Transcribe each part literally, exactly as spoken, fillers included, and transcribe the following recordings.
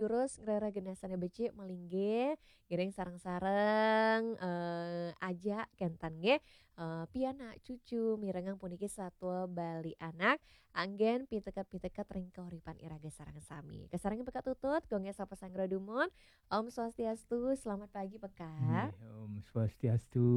Terus ngrereh genah sané becik malinggih, ngiring sareng-sareng, eh, ajak kénten nggih, eh, pianak cucu mirengang puniki satua Bali Anak, anggén piteket-piteket ring kauripan iraga sareng sami. Kasarengin Pekak Tutut, Gung Esa Pasanggra dumun. Om Swastiastu, selamat pagi Pekak. Nggih, Om Swastiastu,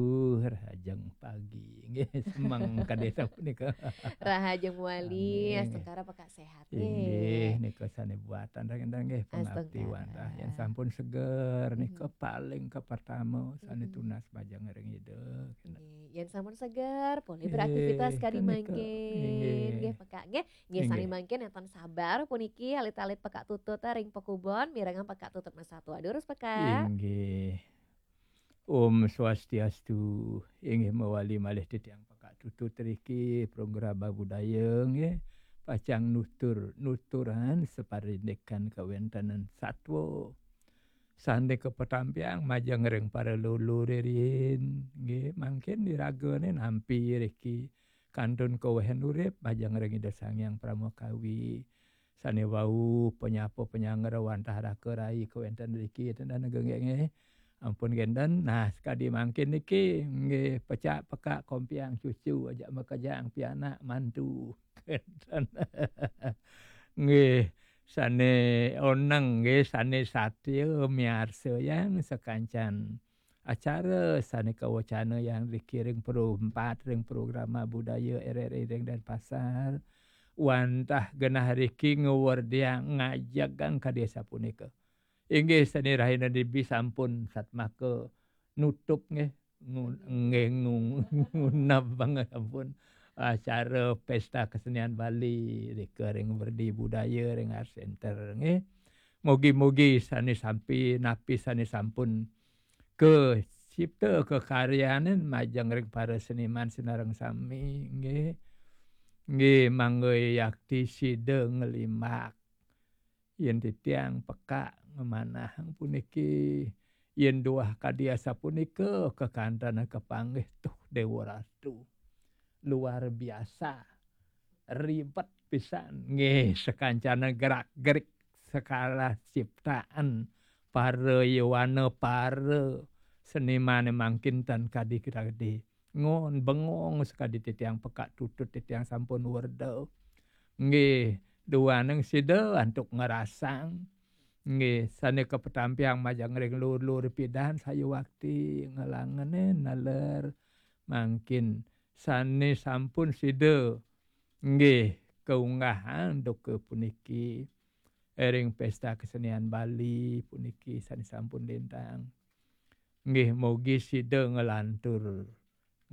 rahajeng pagi. Nggih, semeng kadésa punika. Rahajeng wali, Nggih. Astungkara Pekak séhat. Inggih, Nggih. nika sané buatan ring nggih pengabdi Astungkara. wantah. Yén sampun seger nika Mhm. paling kapertama sané Mhm. tunas majeng ring Ida. Nggih, yén sampun seger, polih Nggih, beraktivitas kadi kanika. mangkin. Inggih. Nggih, Pekak. Nggih, nggih sané Inggih. mangkin nénten sabar puniki alit-alit Pekak Tutut ring pakubon, mirengang Pekak Tutut masatua. Durus Pekak. Inggih. Om Swastiastu. Inggih mawali malih titiang Pekak Tutut riki, program budaya nggih. Pacang nutur, nuturan saparindikan kawéntenan satua. Sané kapatampiang majeng ring para lulu riin, nggih, mangkin iragané nampi riki kantun kawéhan urip majeng ring Ida Sang Hyang Parama Kawi. Sané wau panyapa panyanggra wantah raka rai kawénten riki, ten nggih, nggih. Ampun kénten. Nah, sakadi mangkin niki, nggih, pecak Pekak kompiang cucu ajak makejang pianak mantu. Kénten. Nggih, sané oneng nggih, sané satia miarsayang sakancan acara sané kawecanayang riki ring Pro empat, ring programa budaya R R I ring Denpasar. Wantah genah riki ngawerdiang ngajegang kadésa punika. Inggih sané rahina dibi sampun satmaka nutup nggih. Ngu-, nggih ngu-, ngunab banget ampun acara Pesta Kesenian Bali rika ring Werdi Budaya ring Art Center nggih. Mugi-mugi sané sampi napi sané sampun kacipta kakaryanin majeng ring para seniman sinareng sami nggih. Nggih, mangga yakti sida nglimbak. Yén titiang Pekak ngamanahang puniki, yén duah kadi asapunika kakantenan kapanggih tuh Déwa Ratu. Luar biasa. Ribet pisan. Nggih, sakancana gerak-gerik sekala ciptaan para yowana, para senimané mangkin tan kadi-kadi. Ngon bengong sakadi titiang Pekak Tutut, titiang sampun werda. Nggih, duaning sida antuk ngrasang. Nggih, sané kapatampiang majeng ring lur-lur pidan sayuwakti ngelangenin naler mangkin sané sampun sida nggih kaunggahang duka puniki ring Pesta Kesenian Bali puniki sané sampun lintang. Nggih, mugi sida nglantur,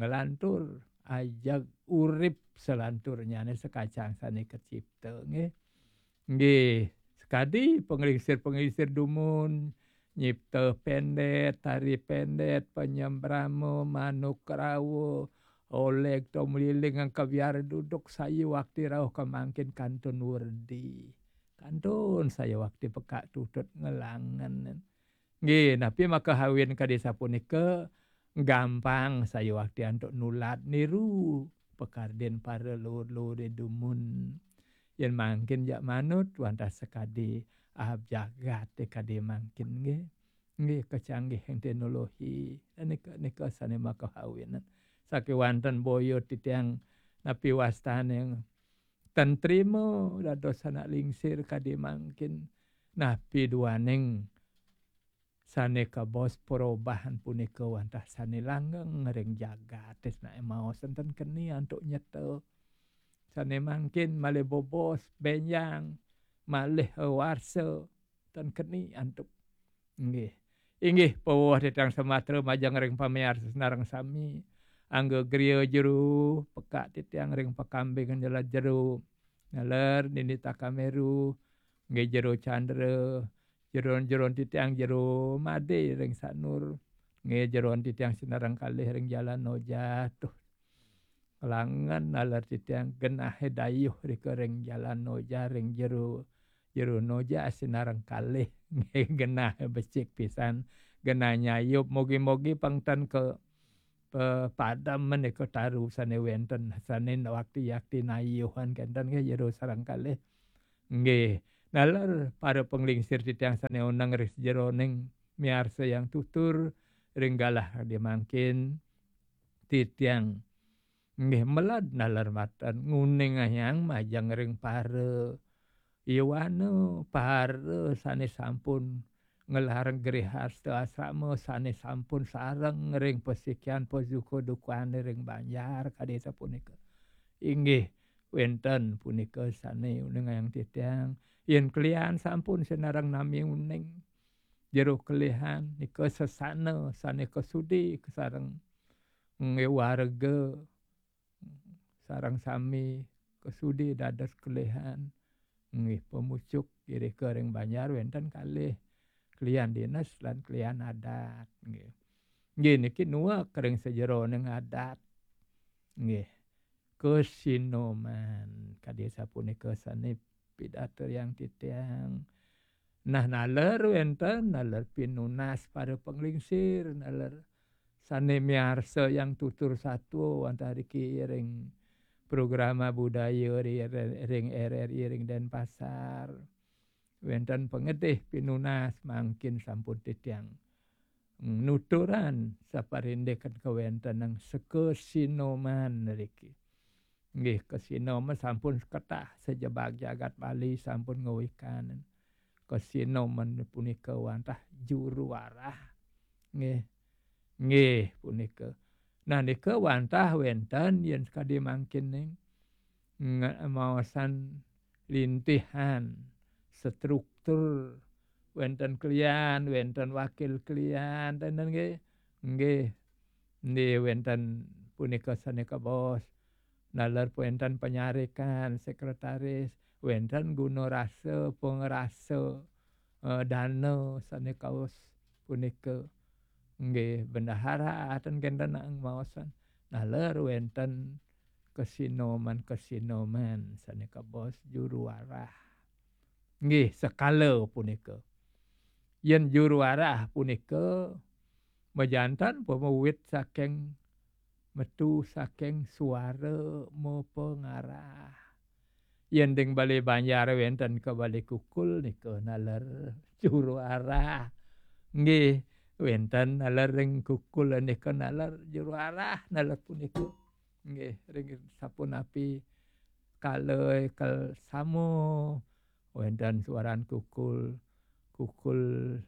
nglantur ajeg urip salanturnyané sakacang sané kacipta nggih. Nggih, sakadi panglingsir-panglingsir dumun, nyipta pendét, tari pendét, panyembrama, manuk rawa, oleg, tomliling, angka biar duduk sayuwakti rauh kamangkin kantun werdi. Kantun sayuwakti Pekak Tutut ngelangen. Nggih, napi makahawin kadi sapunika gampang sayuwakti antuk nulat niru pakardin para lur-lur dumun. Yén mangkin jak manut wantah sakadi ahab jagat kadi mangkin nggih. Nggih, kacanggihan teknologi. Nika, nika sané makahawin. Sakéwanten boya titiang napi wastané ten trima dados anak lingsir kadi mangkin. Napi duaning sané kabaos perubahan punika wantah sané langgeng ring jagat, naé maos ten keni antuk nyeta. Sané mangkin malih bobos, bénjang, malih warsa, ten keni antuk. Nggih. Inggih, pawuh titiang samatra majeng ring pamiarsa sinareng sami. Angga griya jero, Pekak titiang ring Pakambing Jelat Jero. Naler Nini Takameru, nggih Jero Candra, jeron-jeron titiang Jero Madé ring Sanur. Nggih jeron titiang sinareng kalih ring Jalan Noja. Tuh. Kelangan naler titiang genahé dayuh rika ring Jalan Noja ring Jero, Jero Noja sinareng kalih. Nggih genah becik pisan, genah nyayup. Mugi-mugi pang ten ka pe-, padem menika taru sané wénten, sané wakti-yakti nayuhan kénten nggih Jero sareng kalih. Nggih, Naler para panglingsir titiang sane oneng ring sajeroning miarsa yang tutur ring galah kadi mangkin, titiang nggih meled naler maten nguningayang majeng ring para yowana, para sane sampun nglarang grihasta asrama, sane sampun sareng ring pasikian pasuka dukane ring banjar kadi sapunika. Inggih, wenten punika sane uningayang titiang, yen kelian sampun sinareng nami uning jero kelihan nika sesana sane kasudi kasareng nggih warga sareng sami kasudi dados kelihan nggih pamucuk irika ring banjar wenten kalih kelian dinas lan kelian adat nggih. Nggih niki nuek ring sajeroning adat nggih. Kasinoman kadi sapunika sane pidartayang titiang. Nah, naler wenten, naler pinunas para panglingsir, naler sane miarsa yang tutur satua wantah riki ring programa budaya ri-, ring R R I ring Denpasar. Wenten pangedih pinunas mangkin sampun titiang nuturan saparindikan kawentenang sakasinoman riki. Nggih, kasinoman sampun seketah sajebag jagat Bali sampun ngawikan. Kasinoman punika wantah juru arah. Nggih. Nggih, punika. Nah, nika wantah wenten yen sakadi mangkin ning nge-, maosan lintihan struktur wenten kelian, wenten wakil kelian, tenten nggih. Nggih. Nggih, wenten punika sane kabaos. Naler wenten panyarikan, sekretaris, wenten guna rasa, pangrasa, eh, dana sane kaos punika. Nggih, bendahara ten kenten maosan. Naler wenten kasinoman-kasinoman sane kabaos juru arah. Nggih, sekala punika. Yen juru arah punika majantan pamawit saking metu saking suara mapangarah. Yen ring Bale Banjar wenten ka Bale Kukul nika naler juru arah. Nggih, wenten naler ring Kukul nika naler juru arah naler punika. Nggih, ring sapunapi kala kel sama wenten suaran Kukul, Kukul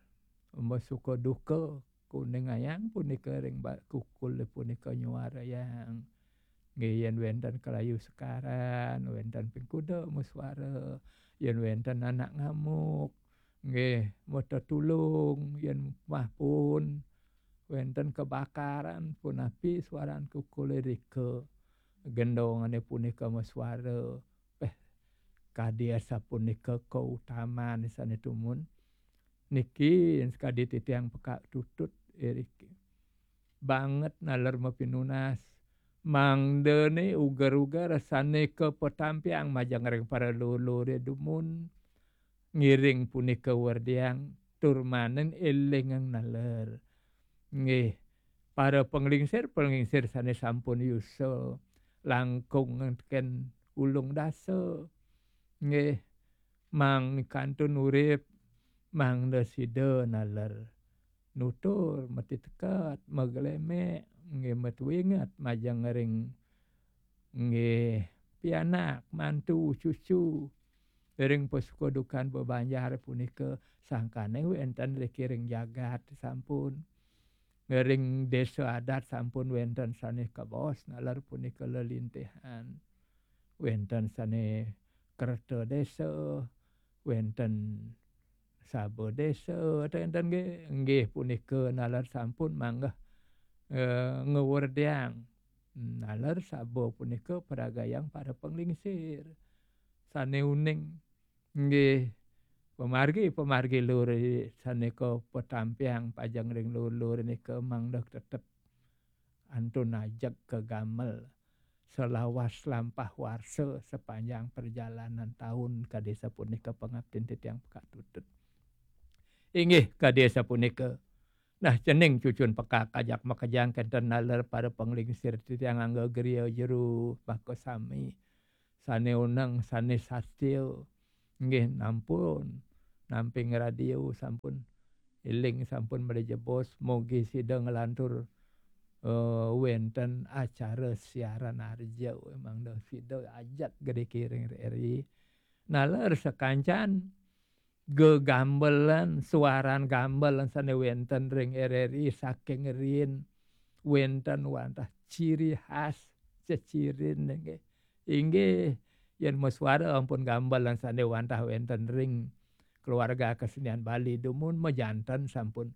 masuka duka, kuningayang punika ring ba-, Kukul punika nyuarayang. Nggih, yen wenten kalayu sekaran, wenten ping kuda masuara, yen wenten anak ngamuk, nggih, matetulung, yen mahpun wenten kebakaran, punapi suaran Kukul rika. Gendongane punika masuara. Peh, kadi asapunika kautaman sane tumun. Niki sakadi titiang pekak tutut iriki. Banget naler mapinunas. Mangdane uger-uger sane kapatampiang majeng ring para lulure dumun. Ngiring punika werdiang tur manen elingang naler. Nggih, para panglingsir-panglingsir sane sampun yusa langkung teken ulung dasa. Nggih, mangkantun urip, mangda sida naler nutur, matiteket, maglemek, nggih, matuinget, majeng ring, nggih, pianak, mantu, cucu, ring pasuka dukan bebanjar punika sangkane wenten riki ring jagat sampun. Ring desa adat sampun wenten sane kabaos naler punika lelintihan. Wenten sane kerta desa, wenten saba desa, wenten nggih, nggih punika naler sampun manggeh, eh, ngewerdiang. Naler saba punika paragayang para panglingsir. Sane uning nggih pamargi, pamargi lur sane kapatampiang pajeng ring lur-lur nika mangda tetep antun ajeg kagamel selawas lampah warsa sepanjang perjalanan taun kadi sapunika pangaptin titiang pekak tutut. Inggih kadi sapunika. Nah, cening cucun pekak ajak makejang kenten naler para panglingsir titiang angga griya jero baka sami. Sane uneng, sane satya, Nggih, nampun, namping radio sampun, iling sampun mrejebos, mogi sida nglantur, eh, wenten acara siaran arja, mangda sida ajak gede kiring R R I. Naler sakancan gegambelan, suaran gambelan sane wenten ring R R I saking riin wenten wantah ciri khas cecirin nggih. Inggih, yen masuara ampun gambelan sane wantah wenten ring keluarga kesenian Bali dumun majanten sampun,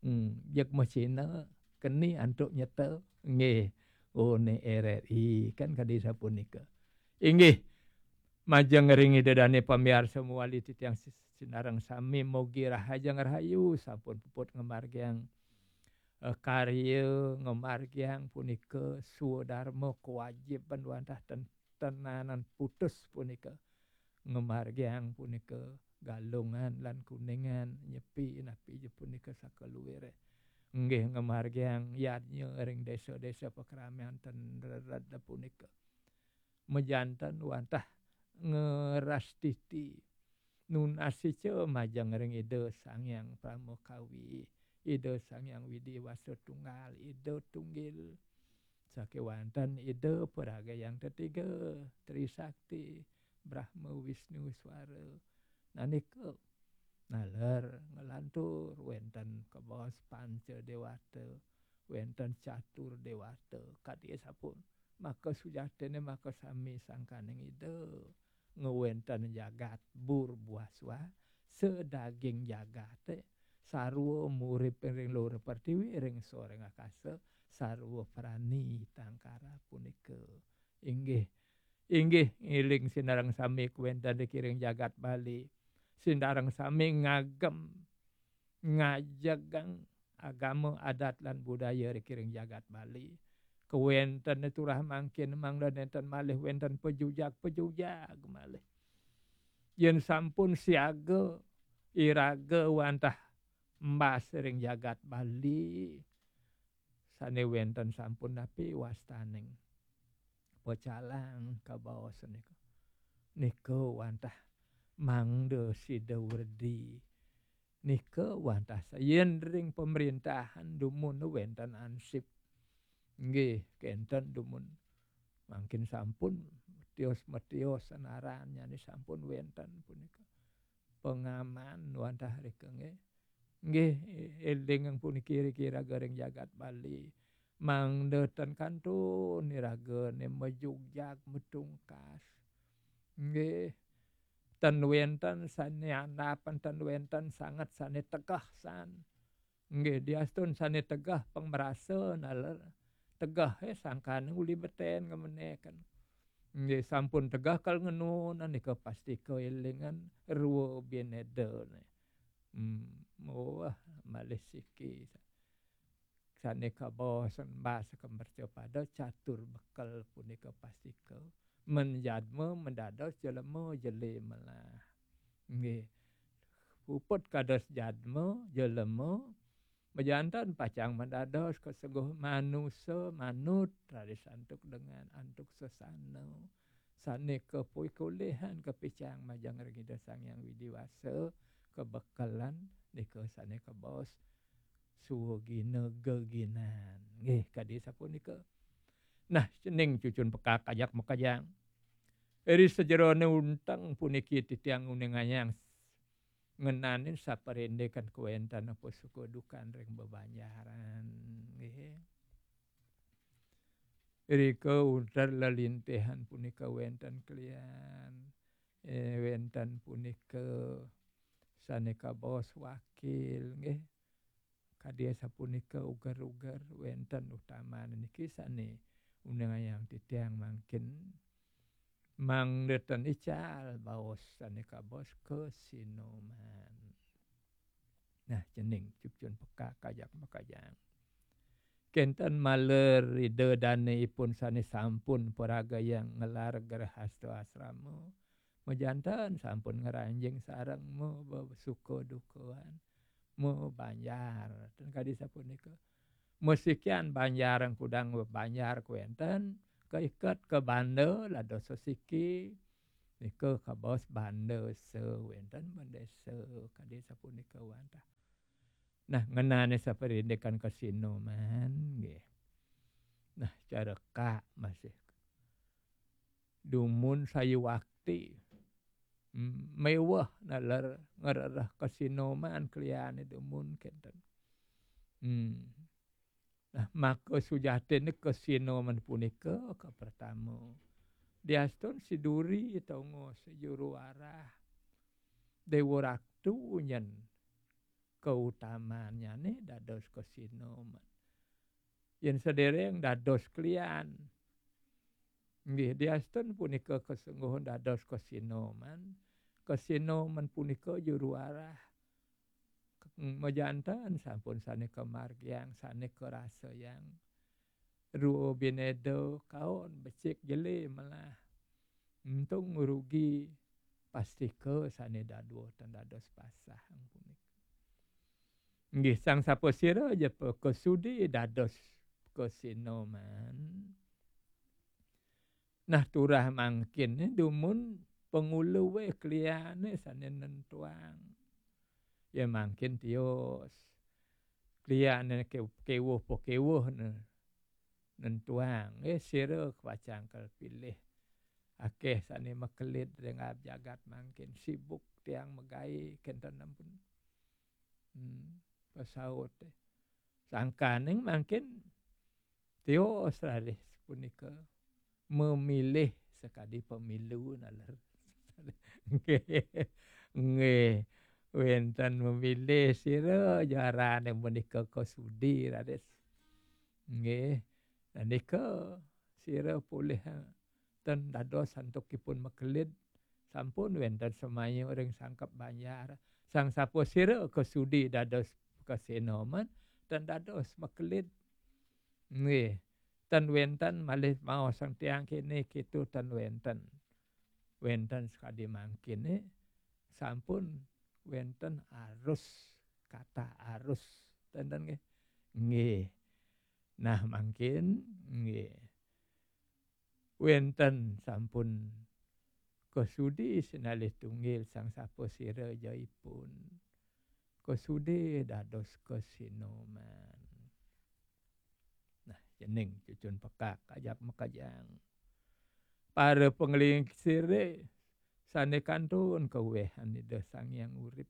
hmm, jeg masina keni antuk nyeta. Nggih, oh, ne R R I kan kadi sapunika. Inggih, majeng ring Ida Dane pamiarsa mawali titiang si-, sinareng sami mogi rahajeng rahayu sampun puput ngamargiang, eh, karya ngamargiang punika swadarma kewajiban wantah ten-, tenanan putus punika ngamargiang punika Galungan lan Kuningan nyepi napi je punika sakaluire. Nggih ngamargiang yadnya ring desa-desa pakramian ten rered punika. Majanten wantah ngerastiti. Nunasica majeng ring Ida Sang Hyang Pramakawi, Ida Sang Hyang Widi Wasa Tunggal, Ida Tunggil. Sakewanten Ida Paraga Hyang Tetiga, Trisakti, Brahma Wisnu Swara. Nanika naler nglantur wenten kabaos panca dewata, wenten catur dewata, kadi sapun. Maka sujatine maka sami sangkaning Ida ngwenten jagat bur buah suah, sedaging jagate, sarwa murip ring luhur pertiwi, ring soreng akasa, sarwa prani tangkara punika. Inggih, inggih, ngiling sinareng sami kawenten ring jagat Bali. Sinareng sami ngagem, ngajegang agama, adat, lan budaya ring jagat Bali. Kawenten turah mangkin mangda nenten malih wenten pejujag-pejujag malih. Yen sampun siaga iraga wantah embas ring jagat Bali, sane wenten sampun napi wastaning pecalang kabaos nika. Nika wantah mangda sida werdi. Nika wantah sa-, yen ring pemerintahan dumun wenten ansip. Nggih, kenten dumun. Mangkin sampun metios-metios sanaran nyane sampun wenten punika. Pengaman wantah rika nggih. Nggih, eling puniki riki raga ring jagat Bali. Mangda ten kantun iraga ne majugjag matungkas. Nggih. Ten wenten sane andapan, ten wenten sanget sane tegeh san. Nggih, diastun sane tegeh pang marasa naler. Tegeh, eh, sangkane uli beten ngemeneken. Nggih, sampun tegeh kal ngenun, nika pasti keelingan rua binedane. Hmm, wah, malih siki. Sane kabaos embas ka mercapada catur bekel punika pastika. Men jadma mendados jelema jele melah. Nggih. Puput kados jadma, jelema, majanten pacang mendados kasengguh manusa, manut, raris antuk dengan, antuk sesana. Sane kapuikulihan kapicang majeng ring Ida Sang Hyang Widi Wasa, kabekelan nika sane kabaos suwagina geginan. Nggih, kadi sapunika. Nah, cening cucun pekak ajak makajang. Ri sajerone unteng puniki titiang nguningayang ngenanin saparindikan kawenten apa suka dukan ring bebanjaran. Nggih. Rika unter lelintihan punika wenten kelian, eh, wenten punika sane kabaos wakil, nggih. Kadi sapunika uger-uger wenten utaman niki sane uningayang titiang mangkin mangda ten ical baos sane kabaos kasinoman. Nah, cening cucun pekak ajak makajang. Kenten maler Ida Dane ipun sane sampun paragayang ngelar grehasta asrama. Majanten sampun ngranjing sareng ma-, suka dukaan. Mabanjar. Ten kadi sapunika. Masikian banjar kudang banjar kawenten, kaiket ka banda lado sasiki, Nika kabaos bandesa, wénten bendesa, kadi sapunika wantah. Nah, ngenani saparindikan kasinoman, nggih. Nah, careka masih dumun sayuwakti. Hmm, méweh naler ngrereh kasinoman kliané dumun kénten. Hmm. Nah, maka sujatiné kasinoman punika kapertama. Diastun siduri tongos juru arah. Déwa Ratu nyén kautamannyané dados kasinoman. Yén sadéréng dados klian. Nggih, diastun punika kasengguhun dados kasinoman. Kasinoman punika juru arah. Majanten sampun sané kamargiang, sané karasayang. Rua binéda kaon becik jelé melah. Untung rugi pastika sané dadua ten dados pasah punika. Nggih, sang sapasira ja pakasudi dados kasinoman. Nah, turah mangkin dumun pangulué kliané sané nentuang. Ya mangkin tios. Kliané ke-, kéwuh pakéwuh né. Nentuang, eh, sira pacang kapilih. Akéh sané makelid ring jagat mangkin sibuk tiang magaé kénten ampun. Hmm, pasaut, eh. Sangkaning mangkin tios raris punika memilih sakadi pemilu naler. Nggih. Nggih. Wénten memilih sira jarané menika kasudi raris. Nggih. Nah, nika sira polih, eh, ten dados antukipun makelid, sampun wénten semaya ring sangkep banjar. Sang sapasira kasudi dados kasinoman, ten dados makelid. Nggih, ten wénten malih maosang tiang kéné kéto ten wénten. Wénten sakadi mangkiné, sampun wénten arus, kata arus. Ten, ten nggih. Nggih. Nah, mangkin, nggih. Wénten sampun kasudi sinalih tunggil sang sapasira ja ipun. Kasudi dados kasinoman. Nah, cening cucun pekak ajak makejang. Para panglingsiré sané kantun kawéhan Ida Sang Hyang Urip.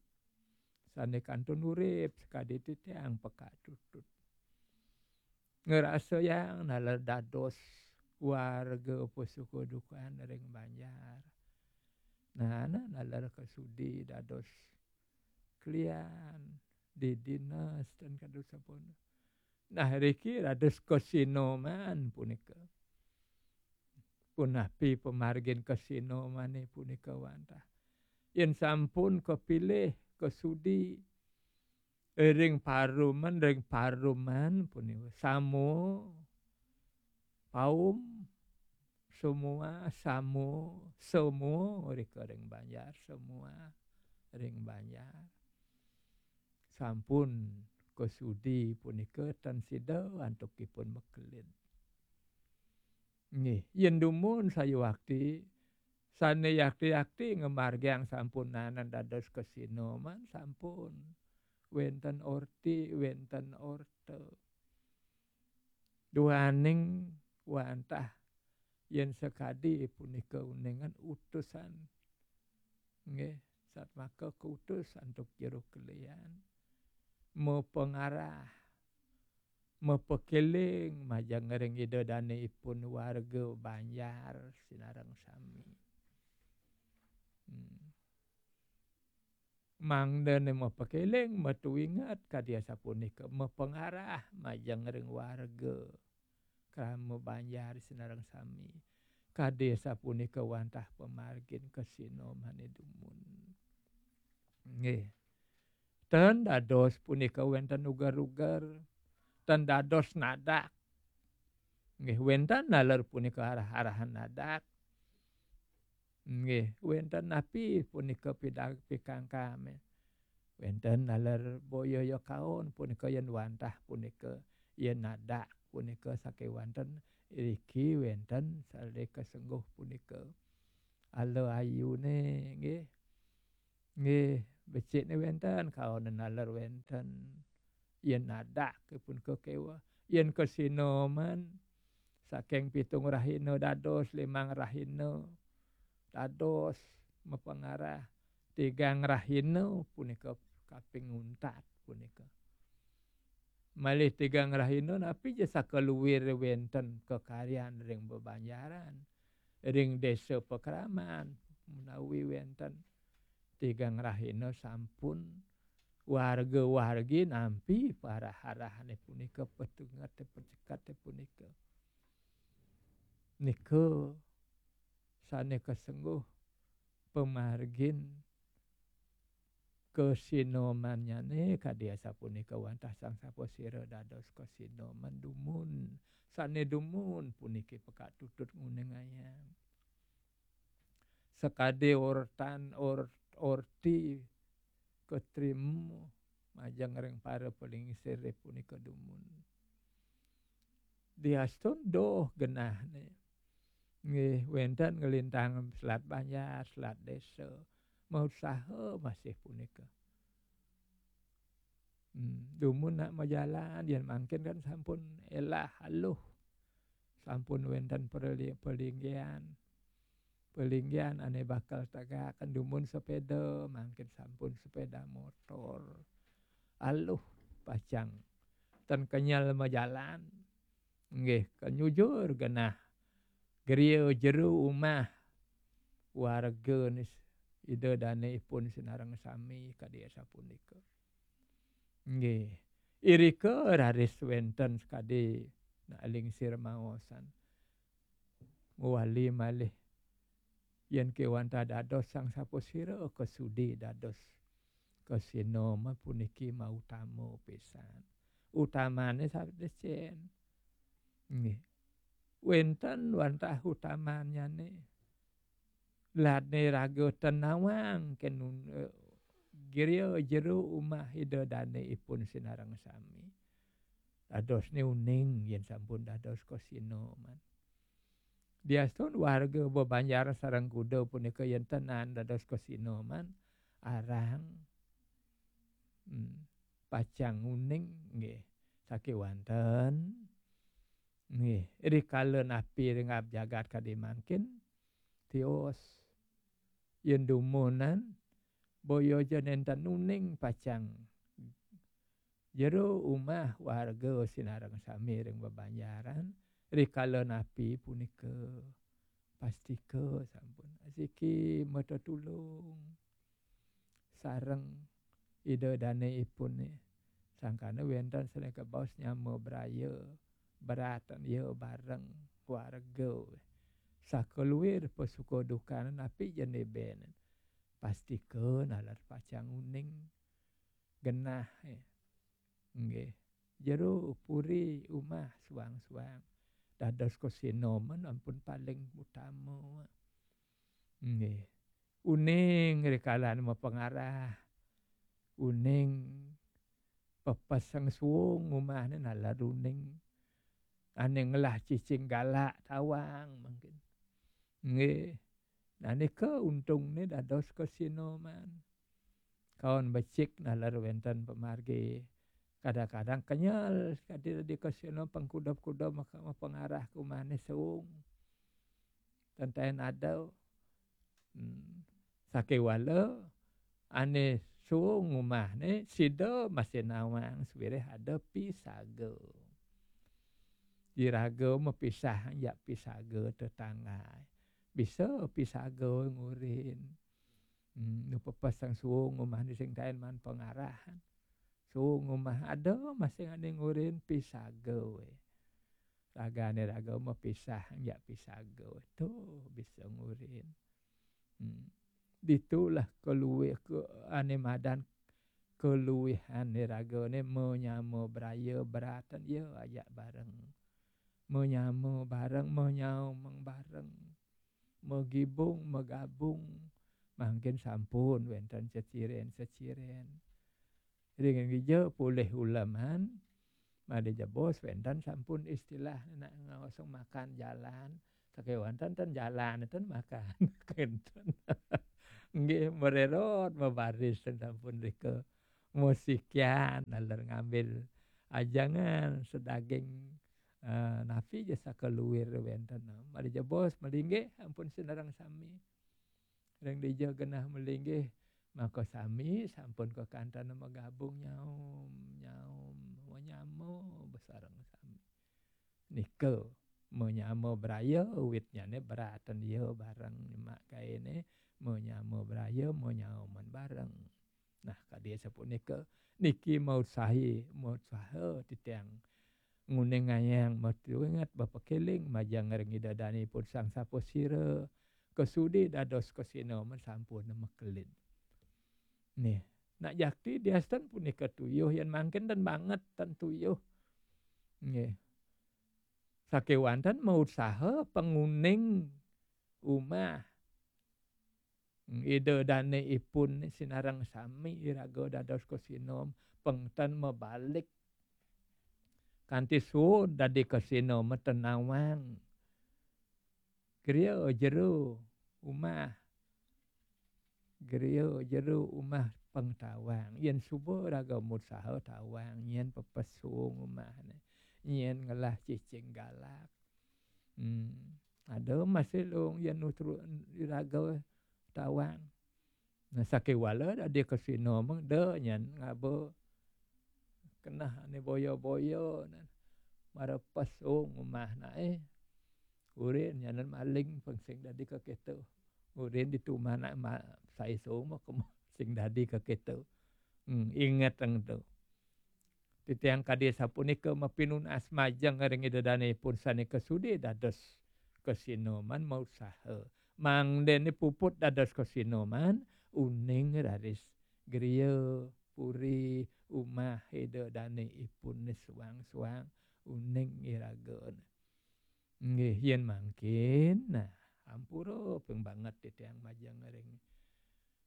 Sané kantun urip sakadi titiang pekak tutut. Ngrasayang naler dados warga pasuka dukan ring banjar. Nah, nah, naler kasudi dados klian, di dinas ten kadu sampun. Nah, riki dados kasinoman punika. Punapi pamargin kasinomané punika wantah. Yén sampun kapilih, kasudi, ring paruman, ring paruman punika. Samo, paum, semua, samo, semua rika ring banjar, semua ring banjar. Sampun kasudi punika tan sida antukipun makelid. Nggih, yén dumun sayuwakti, sané yakti-yakti ngamargiang sampunanan dados kasinoman, sampun. Wénten orti, wénten orta. Duaning wantah yén sakadi punika uningan utusan. Nggih, satmaka kautus antuk jero kelian. Mapangarah, mapakéling majeng ring Ida Dané ipun warga banjar sinareng sami. Hmm. Mangdané mapakéling, matuinget kadi asapunika, mapangarah majeng ring warga krama banjar sinareng sami. Kadi asapunika wantah pamargin kasinomané dumun. Nggih. Ten dados punika wénten uger-uger, ten dados nadak. Nggih, wénten naler punika arah-arahan nadak. Nggih, wénten napi punika pidang-, pikangkame. Wénten naler boya ya kaon punika yén wantah punika, yén nadak punika sakéwanten, riki wénten salih kasengguh punika. Ala ayune nggih. Nggih, becik ne wenten, kaonen naler wenten. Yen nadak pun kekewa. Yen kesinoman saking pitung rahina dados limang rahina, dados mapengarah tigang rahina punika kaping untat punika. Malih tigang rahina napi ja sakaluwir wenten kekaryan ring bebanjaran, ring desa pakraman, menawi wenten tigang rahina sampun warga-wargi nampi parah-arahane punika, petungete pecekate punika. Nika sane kasengguh pamargin kasinomannyane kadi asapunika wantah Sang Sapasira dados kasinoman dumun. Sane dumun puniki pekak tutut nguningayang. Sakadi ortan or-, orti katrima majeng ring para palingsir punika dumun. Diastun doh genahne. Nggih, wenten nglintang selat banjar, selat desa. Mausaha masih punika. Hmm, dumun nak majalan, yen mangkin kan sampun elah aluh. Sampun wenten perli-, pelinggihan. Pelinggihan ane bakal tegaken dumun sepeda, mangkin sampun sepeda motor. Aluh pacang. Ten kenyel majalan. Nggih, kenyujur genah griya jero umah warga nis-, Ida Dane ipun sinareng sami kadi asapunika. Nggih. Irika raris wenten sakadi nak lingsir maosan. Ngwali malih yen kewantah dados Sang Sapasira kasudi dados kasinoma puniki mautama pisan. Utamane sabdesen. Nggih. Wenten wantah utamannyane. Lane raga ten nawang kenun-, eh, griya jero umah Ida Dane ipun sinareng sami. Dadosne uning yen sampun dados kasinoman. Diastun warga bebanjar sareng kuda punika yen tenan dados kasinoman, arang, hmm, pacang uning nggih. Sakewanten nggih, rikala napi ring abjagat kadi mangkin, tios. Yen dumunan, boya ja nenten uning pacang jero umah warga sinareng sami ring bebanjaran, rikala napi punika pastika sampun asiki matetulung sareng Ida Dane ipune. Sangkana wenten sane kabaos nyama braya, beratan ya bareng warga. Sakaluwir pasuka dukane napi jene ben. Pastika nalar pacang uning genah, eh. Nggih. Jero puri umah suang-suang. Dados kasinoman ampun paling utama. Nggih. Uning rikalan mapangarah. Uning pepeseng suung umahne nalar uning. Ane ngelah cicing galak tawang mangkin. Nggih. Nah, nika untungne dados kasinoman. Kaon becik nalar wenten pamargi. Kadang-kadang kenyel kadi di kasino pengkuda-kuda maka mapangarah ke umahne suung. Tenten ada. Hmm. Sakewala ane suung umahne sida masih nawang sawireh ada pisaga. Iraga mapisah ya pisaga tetangga. Bisa pisaga ngurin. Hmm, nu pepeseng suung umahne sing taen man pangarahan. Suung umah ada masih ane ngurin pisaga we. Ragane raga mapisah ya pisaga we. Tuh bisa ngurin. Hmm. Ditulah kaluwih ke ane madan kaluwihane ragane manyama braya beratan ya ajak bareng. Manyama bareng, manyaumang bareng. Magibung, magabung. Mangkin sampun wenten ceciren-ceciren. Ring gija polih uleman, made jebos wenten sampun istilah nak ngosong makan jalan, Sakéwanten ten jalan ten makan. Kinten. Nggih, mererot mabaris ten sampun rika. Mosikian naler ngambil ajangan sedaging, eh, napi ja sakaluir wénten. Mari jebos melinggih ampun sinareng sami. Ring dija genah melinggih, maka sami sampun kakanten magabung nyaum, nyaum, manyama basareng sami. Nika manyama braya, witnyané beraten ya bareng nyemak gaéné, manyama braya, manyauman bareng. Nah, kadi sapunika, niki mautsahi, mautsaha titiang nguningayang matinget bapakéling majeng ring Ida Dané ipun Sang Sapasira, kasudi dados kasinoman sampun makelid. Nih, nak jakti diasten punika tuyuh, yén mangkin ten banget ten tuyuh. Nggih. Sakéwanten mautsaha panguning umah Ida Dané ipun sinareng sami iraga dados kasinom, pang ten mabalik kanti suud dadi kasinom ten nawang. Griya jero umah, griya jero umah pang tawang. Yén suba raga mautsaha tawang, nyén pepesung umahné, nyén ngelah cicing galak. Hmm. Ada masih luung yén nutru iraga tawang. Nah, sakéwala dadi kasinom da nyén ngaba keneh ané boya-boya, nah. Mara pesung umah naé. Urin nyanan maling pang sing dadi kakéto. Urin ditu umah nak ma-, sai sung mah sing dadi kakéto. Hmm, inget ring tu. Titiang kadi sapunika mapinunas majeng ring Ida Dané ipun sané kasudi dados kasinoman mautsaha. Mangdané puput dados kasinoman, uning raris griya, puri, umah Ida Dané ipun suang-suang, uning iraga. Nggih, yén mangkin, nah, ampura ping banget titiang majeng ring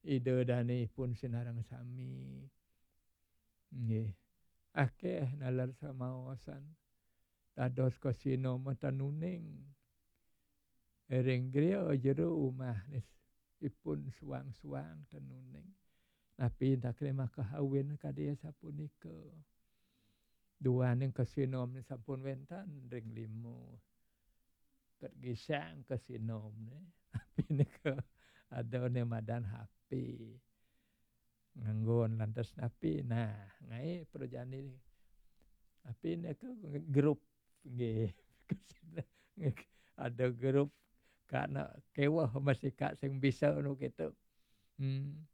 Ida Dané ipun sinareng sami. Nggih. Akéh naler samaosan. Dados kasinoman ten uning. Ring griya jero umah nis ipun suang-suang ten uning. Napi takrima kahawin kadi sapunika. Duaning kasinom sampun wénten ring lima. Ket gisang kasinom né. Napi nika ada né madan H P. Nganggon lantas napi. Nah, ngaé prajani. Napi nika grup nggih. Ada grup kana kéweh masih kak sing bisa nu gitu. Hmm.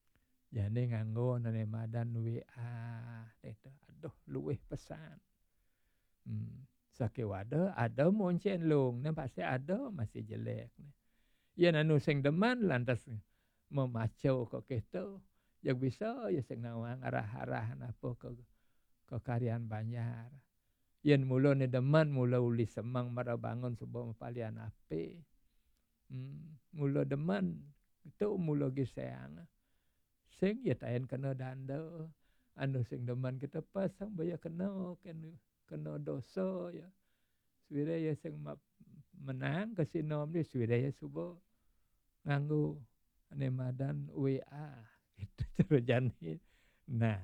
Jani nganggo nané madan W A, itu. Aduh, luwih pesan. Hmm. Sakéwala ada moncén luung, né pasti ada masih jelék, né. Yén anu sing demen lantas mamaca ka kéto, ya bisa ya sing nawang arah-arah napa ka, ka karyan banjar. Yén mula né demen, mula uli semeng mara bangun suba mapalian apé. Hmm, mula demen, itu mula giséang. Sing ya taén kena danda. Anu sing demen kita pasang baya kena, kena, kena dosa ya. Suwira ya sing ma-, menang kasinom dia, suwira ya suba nganggo ané madan W A. Gitu cara jani. Nah,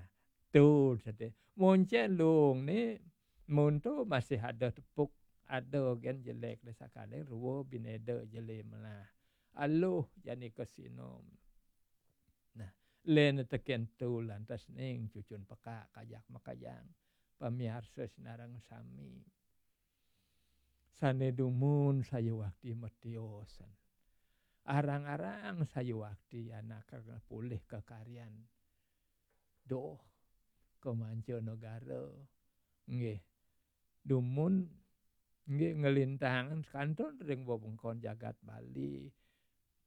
tu sate. Moncén luung né, mun tu masih ada tepuk, ada gén jelék dé sakali, rua binéda jelé melah. Aluh jani kasinom. Nah, lén tekén tu lantas ning cucun pekak kajak makajang. Pamiarsa sinareng sami. Sané dumun sayuwakti matiosan. Arang-arang sayuwakti anak pulih ka karyan. Duh, ka manca negara. Nggih. Dumun, nggih, nglintang kantun ring wewengkon jagat Bali,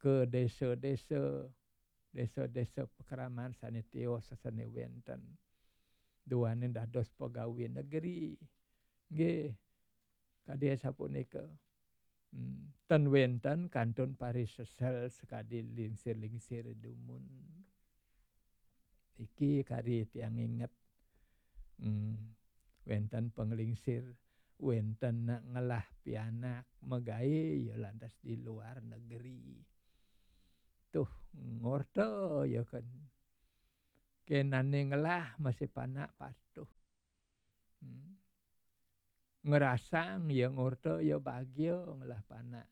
ka désa-désa, désa-désa pakraman sané tios sané wénten. Duaning dados pegawé negeri. Nggih, kadi sapunika. Hmm, ten wénten kantun parisesel sakadi lingsir-lingsir dumun. Iki kari tiang inget. Hmm, wénten panglingsir. wénten nak ngelah pianak magaé ya lantas di luar negeri. Tuh, ngorta ya kan. Kénané ngelah masih panak patuh. Hmm. Ngerasang ya ngorta ya bagia ngelah panak.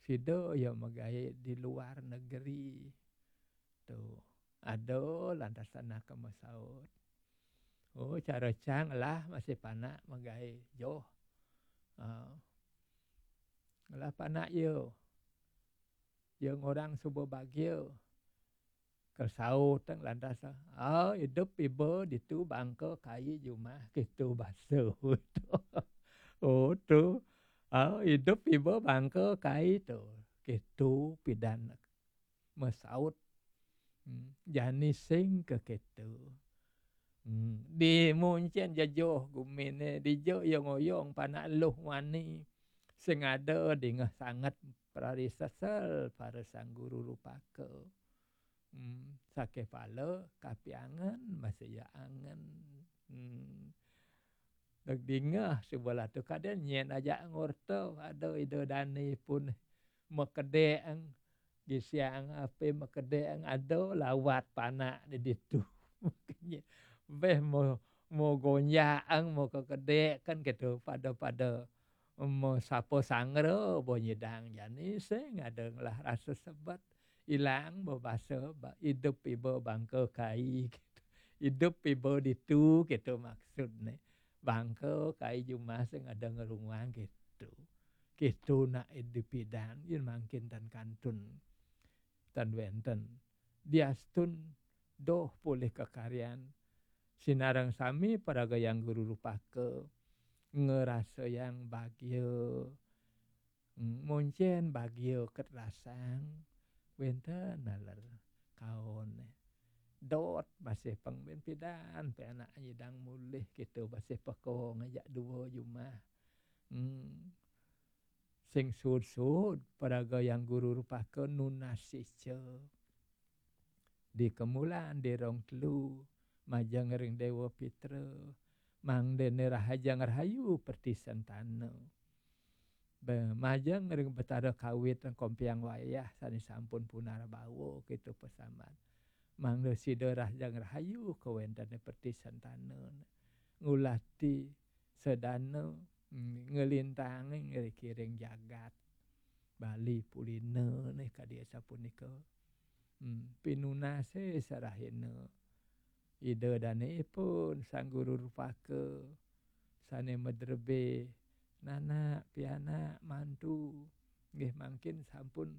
Sida ya magaé di luar negeri. Tuh, ada lantas anak ke masaut. Oh, cara cang lah masih panak magaé joh. Ah. Ngelah panak ya. Ya ngorang suba bagia. Kesaut teng lantas, ah, idup iba ditu bangka kai jumah, kitu basa. Oh, tu. Ah, idup iba bangka kai tu. Kitu pidan masaut. Hmm, jani sing ka kitu. Hmm, di muncen jejoh guminé, dija ya ngoyong panak luh wani. Sing ada dingeh sanget prarisesel para sang guru rupaka. Hmm, saké pala kapiangen, masih ya angen. Hmm. Dek dingeh sebelah tu kadén nyén ajak ngorta, ada ida dané pun makedék, gisiang apé makedék, ada lawat panak di ditu. Béh mau, mau gonjang, mau kekedék kan gitu, pada-pada mau sapa sangra, bo nyidang jani sing ada ngelah rasa sebet. Ilang bebasa ba-, idup iba bangka kai gitu. Idup iba ditu gitu maksudné. Bangka kai jumah sing ada ngerunguang gitu. Gitu nak idup pidan, yén mangkin tan kantun, tan wénten. Diastun doh polih kekaryan. Sinareng sami paragayang guru rupaka ngerasayang bagia. Hmm, muncén bagia ket rasang, wénten naler kaon. Dot masih pang ben pidan, pe anak nyidang mulih gitu, masih pekong ajak dua jumah. Hmm. Sing sud-sud, paragayang guru rupaka nunas ica. Di kemulan di rong telu, majeng ring Déwa Pitra, mangdané rahajeng rahayu pertisentana. Be-, majeng ring Betara Kawit ring Kompiang Wayah sané sampun punarbawa, kéto pasambat. Mangda sida rahajeng rahayu kawéntené pertisentana. Ngulati sedana, mm, nglintangin ring kiring jagat. Bali pulina nih kadi asapunika. Hmm, pinunasé sarahina. Ida dané ipun Sang Guru Rupaka sané madrebé nanak, pianak, mantu. Nggih mangkin sampun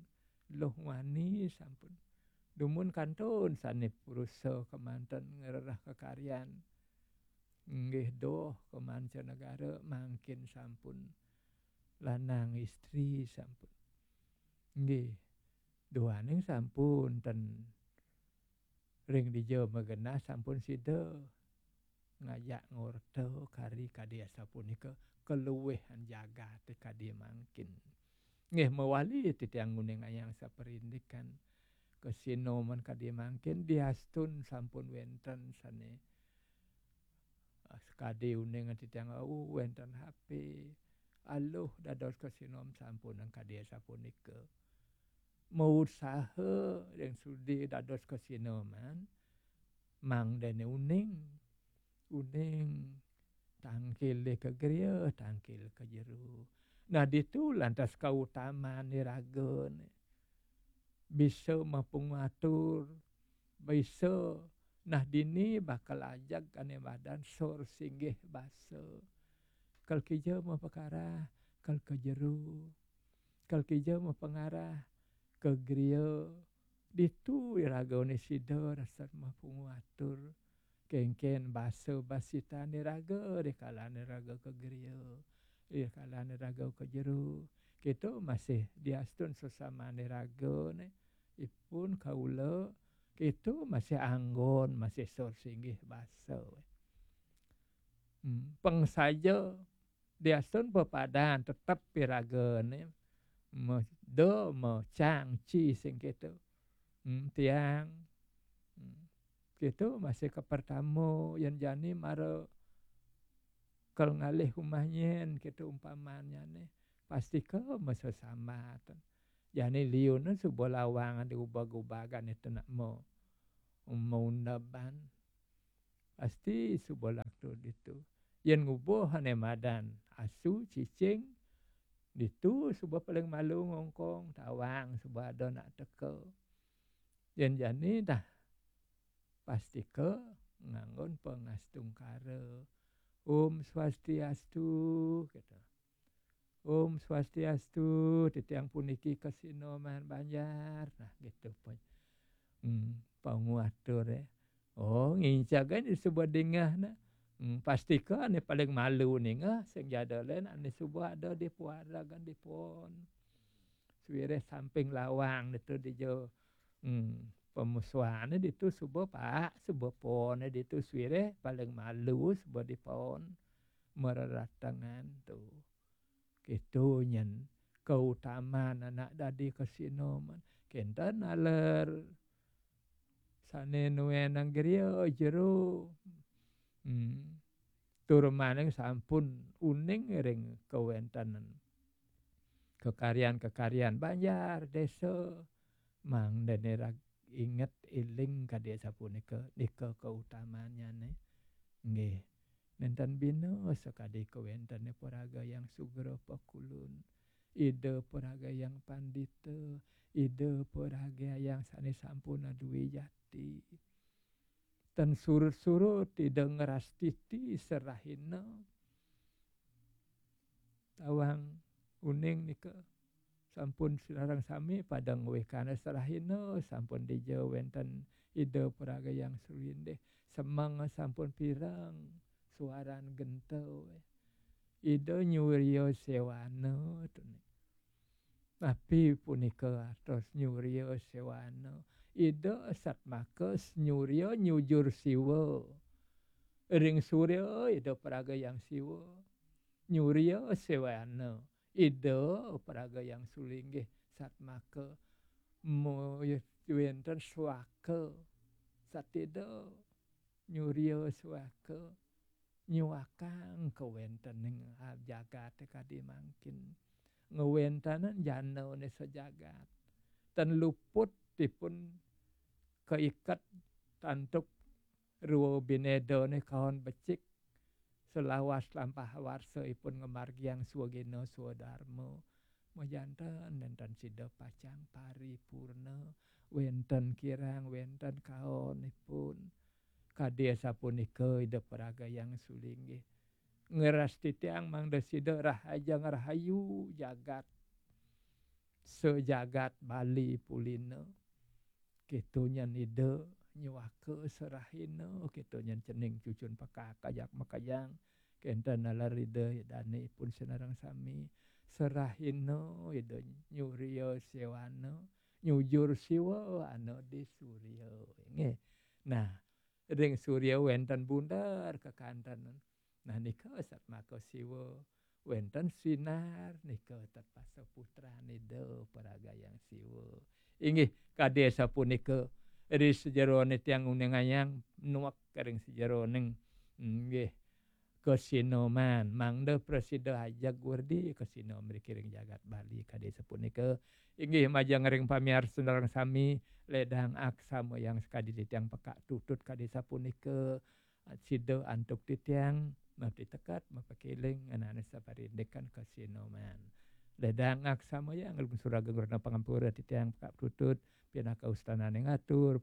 luh wani, sampun dumun kantun sané prusa kemanten ngrereh kekaryan. Nggih doh ka mancanegara mangkin sampun lanang istri sampun. Nggih. Duaning sampun ten ring dija magenah sampun sida ngajak ngorta kari kadi asapunika kaluihan jagaté kadi mangkin. Nggih mawali titiang nguningayang saprindikan kasinoman kadi mangkin diastun sampun wénten sané, ah, sakadi uning titiang wau wénten H P. Aluh dados kasinom sampun kadi asapunika. Mausaha ring sudi dados kasinoman, mangdané uning. Uning tangkilé ka griya, tangkil ka jero. Nah, ditu lantas kautamaan iragané. Bisa mapangatur, bisa nah dini bakal ajeg ané madan sor singgih basa. Kal kija mapakarah, kal ka jero. Kal kija mapangarah, ka griya. Ditu iragané sida rasa mapangatur. Kénkén basa basitan iraga, rikalané iraga ka griya, rikalané iraga ka jero. Kéto masih diastun sesamané iragané, ipun kaula, kéto masih anggon, masih sor singgih basa. Hmm, pang saja diastun pepadan tetep iragané, ma-, da ma cang ci sing kéto. Hmm, tiang. Hmm. Kéto masih ka pertama, yén jani mara Kal ngalih umah nyen, kita umpamanya nih, pasti ke mesesambatan. Jani liun suba lawang di ubag-ubagan itu nak mau maundaban. Pasti suba laktu ditu. Yen ngubuh ane madan asu, cicing, ditu suba paling malu ngongkong, tawang suba ada nak teka. Yen jani dah pasti ke nganggon pangastungkara. Om Swastiastu, gitu. Om Swastiastu, titiang puniki kasinoman Banjar. Nah, gitu pun. Hmm, panguatur ya. Oh, ngincag aja suba dingeh nah. Hmm, pasti ke ane paling malu ningeh, sing jada len ane suba ada di puara kan di pon. Suwireh samping lawang ditu dija. Hmm, pemusuhane ditu suba pak, suba pone ditu suwireh paling malu suba di pon. Mareratengan tu. Kitu nyen kautaman anak dadi kasinoman. Kenten aler sane nuenang griya jero. Hmm. Tur maning sampun uning ring kawentenan kakaryan-kakaryan banjar desa. Mangdane rag-, inget iling kadi sapunika, nika kautamanyane. Nggih. Nenten bina sakadi kawentene paraga yang sugra pakulun. Ida paraga yang pandita, ida paraga yang sane sampun aduwe jati. Tan surut-surut ida ngrastiti serahina. Tawang uning nika sampun sinareng sami pada ngwekana serahina, sampun dija wenten ida paraga yang sulindih. Semeng sampun pireng, suaran genta. Ida nyuria sewana tuni. Napi punika artos nyuria sewana? Ida satmaka nyuria nyujur Siwa. Ring surya ida paraga yang Siwa. Nyuria sewana. Ida paraga yang sulinggih satmaka mu-, wenten swaka. Satida nyuria swaka. Nyuakang kawentening jagate kadi mangkin. Ngwentanan janane sajagat. Tan luput ipun kaiket antuk rwa binedane kaon becik. Selawas lampah warsa ipun ngamargiang swagina swadarma. Majanten nenten sida pacang paripurna, wenten kirang, wenten kaon ipun. Kadi asapunika ida paraga yang sulinggih. Ngrastitiang mangda sida rahaja ngrahayu jagat. Sajagat Bali pulina. Kitu nyen ida nyuaka serahina, kitu nyen cening cucun pekak kajak makajang. Kenten nalar ida dane ipun sinareng sami. Serahina ida nyuria sewana, nyujur Siwa ana di surya. Nggih. Nah, ring surya wenten bunder kekanten. Nah, nika satmaka Siwa. Wenten sinar nika tatpasa putran ida paraga yang Siwa. Inggih, kadi sapunika ri sajerone tiang nguningayang nuek ring sajeroning, inggih, kasinoman. Mangda prasida ajeg werdi kasinoman mriki ring jagat Bali kadi sapunika. Inggih, majeng ring pamiarsa sareng sami, ledang aksama yang sakadi titiang pekak tutut kadi sapunika. Sida antuk titiang, mapiteket, mapakeling, ngenani saparindikan kasinoman. Ledang aksama yang nglungsur ageng rena pangampura titiang pekak tutut, pinaka ustanane ngatur,